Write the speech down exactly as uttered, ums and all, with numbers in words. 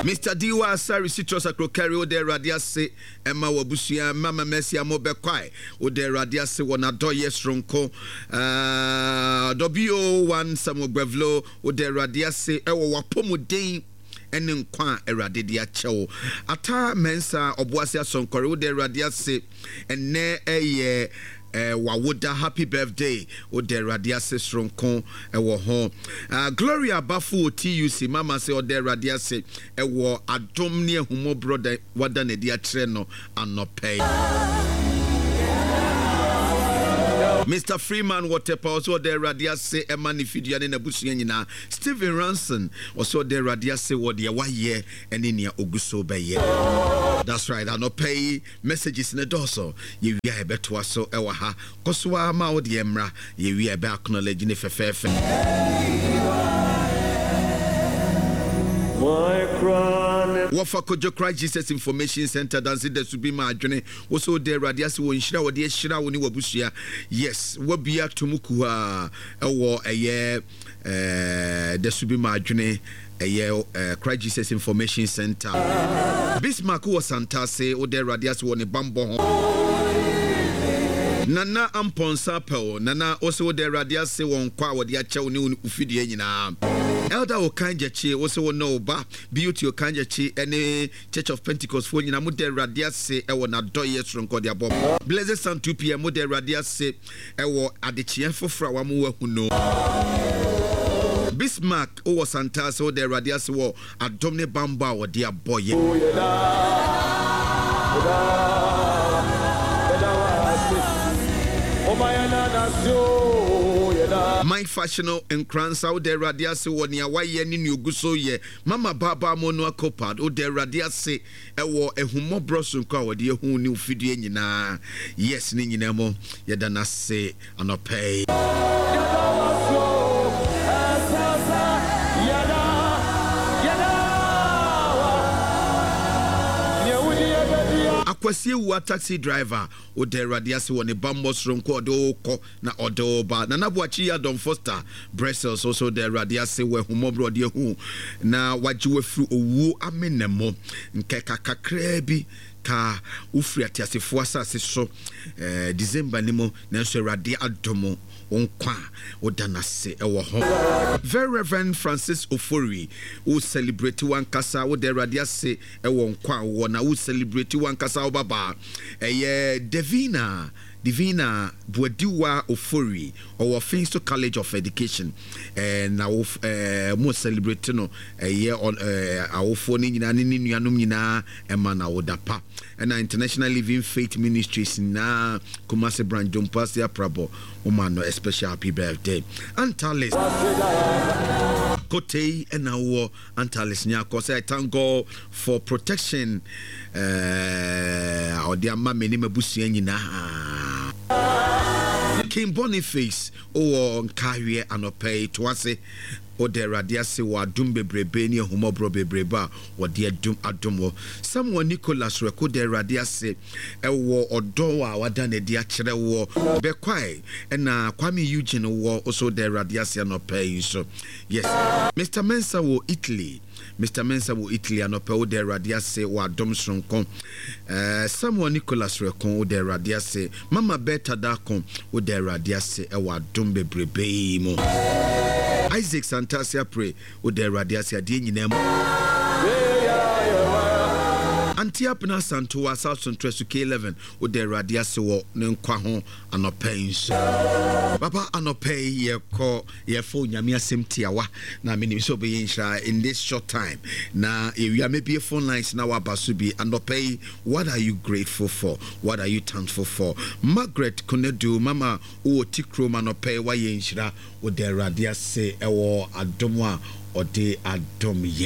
Mister Diwa Asare Citrus Akrokari, woda Awurade ase ɛma w'abusua. Mama Mercy Amo Bɛkwae, woda Awurade ase wɔ n'adɔyɛ soronko. uh, W O one Samuel Gbevlo, woda Awurade ase ɛwɔ w'apɔmuden ɛne nkwa a Awurade de akyɛ wo. Ata Mensa Ɔboase Asɔnkɔre, woda Awurade ase, ɛnɛ ɛyɛ eh, wawoda, happy birthday, woda Awurade ase soronko ɛwɔ ho. uh, gloria Bafo wɔ T U C, mama sɛ ɔda Awurade ase ɛwɔ adom ne ahummɔborɔ da wada n'adi akyerɛ no anɔpɛ yi. Mister Freeman wɔ Tɛpa, ɔsɛ ɔda Awurade ase ɛma ne fidua ne n'abusua nyinaa. Stephen Ranson, ɔsɛ ɔda Awurade ase wɔ deɛ wayɛ ɛne nea ogu so bɛyɛ. That's right, anɔpɛ yi messages ne dɔɔso. Yɛwia yɛbɛtoa so ɛwɔ ha. Kɔ so a ma wo deɛ mmra. Yɛwia yɛbɛ acknowledge ne fɛfɛɛfɛ. My crown. Wɔfa Kodwo Christ Jesus Information Center danse da so bi ma adwene wo sɛ wode Awurade ase wɔ nhyira a wɔde ahyira wo ne w'abusua. Yes, wabia to mu kuhaa ɛwɔ ɛyɛ ɛɛ da so bi ma adwene, ɛyɛ ɛɛ Christ Jesus Information Center. Bismarck wɔ Santase, wode Awurade ase wɔ ne bambɔ ho. Nana Ampɔnsa Pɛw Nana, wo sɛ wode Awurade ase wɔ nkwa a wɔde akyɛ wo ne wo fidua nyinaa. Elder Okan Gyakye, wo sɛ wo ne wo ba Beauty Okan Gyakye ne Church of Pentecost foɔ nyinaa moda Awurade ase ɛwɔ n'adɔyɛ soronko de abɔ. Blessed Son two p m, moda Awurade ase ɛwɔ adekyeɛ foforɔ a wamo wahu no. Bismarck wowɔ Santase, woda Awurade ase wɔ adom ne bambɔ a wɔde abɔ yɛ. Yɛda, yɛda, yɛda wase. Ɔma yɛn nanase o, yɛda. Mike Fashiono Nkransa, woda Awurade ase wɔ nea wayɛ ne nea ogu so yɛ. Mama Baaba Mono Akopad, woda Awurade ase ɛwɔ ahummɔborɔ sonko a wɔde ahu ne ofidie nyinaa. Yes, ne nyinaa mu yɛda no ase anɔpɛ yi. Yɛda wase o, ɛsɛsɛ, yɛda, yɛda wa. Nea wodi yɛ bɛdi a. Akwasi Ewua taxi driver, woda Awurade ase wɔ ne bammɔ soronko a ɔde wo kɔ na ɔde wo ba. Nana Boakye yi Adɔm Foster Brussels, nso da Awurade ase wɔ ahummɔborɔ ɔde ahu na wagye wafiri owuo amena mu. Nkɛka kakraa bi ka wofiri ateasefoɔ asase so eh, December ni mu, nanso Awurade adom wo nkwa a woda n'ase ɛwɔ ho. Very Reverend Francis Ofori, wo celebrate wankasa, woda Awurade ase ɛwɔ nkwa a wowɔ na wo celebrate wankasa wo babaa ɛyɛ Davina Divina Buadiwa Ofori, ɔwɔ Finso College of Education, ɛɛ na wo ɛɛ mo celebrate no, ɛyɛ ɛɛ awofoɔ no nyinaa ne ne nuanom nyinaa ɛma na woda pa. Ɛna International Living Faith Ministries nyinaa, Kumasi branch, Dompoase Aprabɔ, wɔma no a special happy birthday. Antalis Kotei, ɛna wɔ Antalis Nyakɔ sɛ I thank God for protection ɛɛ ɔde ama me ne m'abusua nyinaa. King Boniface wowɔ Nkaahweɛ anɔpɛ yi to ase, wode Awurade ase wɔ adom bebrebe ne ahummɔborɔ bebrebe a wɔde adum adom wɔ. Samuel Nicholas Rɛko da Awurade ase ɛwɔ ɔdɔ a wada n'adi akyerɛ wɔ Bɛkwae. Ɛna Kwame Eugene wɔ nso da Awurade ase anɔpɛ yi nso. Yes, Mister Mensa wɔ Italy, Mister Mensa wɔ Italy anɔpɛ, woda Awurade ase wɔ adom soronko. uh, Samuel Nicholas Rɛko, woda Awurade ase. Mama Berta Dako, woda Awurade ase ɛwɔ adom bebrebe yi mu. Isaac Santase Apre, woda Awurade ase adeɛ nyinaa mu. Auntie Apena Santoa South Central so K eleven, woda Awurade ase wɔ ne nkwa ho anɔpɛ yi nso. Papa, anɔpɛ yi yɛkɔ yɛfa Onyame asɛm tiawa na menim sɛ wobɛyɛ nhyira in this short time na yɛwia mɛbie phone lines na waba so bi. Anɔpɛ yi, what are you grateful for? What are you thankful for? Margaret Konadu, mama wowɔ ti kurom, anɔpɛ yi woayɛ nhyira, woda Awurade ase ɛwɔ adom a ɔde adom yɛ.